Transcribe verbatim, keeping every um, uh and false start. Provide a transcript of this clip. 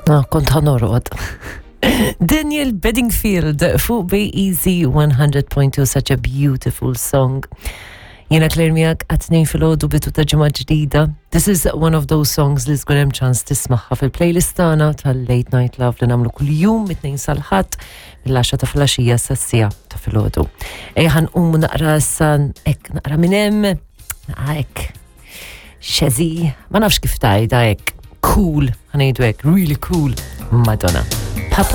No, kont ħa norqod. Daniel Bedingfield fuq Bay Easy one hundred point two, such a beautiful song. Jiena Claire miegħek għat-tnejn filgħodu, bidu ta' ġimgħa ġdida. This is one of those songs li żgur hemm ċans tismagħha fil-playlist tagħna tal-Late Night Love li nagħmlu kuljum mit-tnejn sal-Ħadd mill-għaxra ta' filgħaxija sas-siegħa ta' filgħodu. Ejja ħa nqumu naqra san hekk, naqra minn hemm, naqra hekk. Xezi, ma nafx kif tgħidha hekk. Cool, ħa ngħidu hekk, really cool. Madonna. Papa.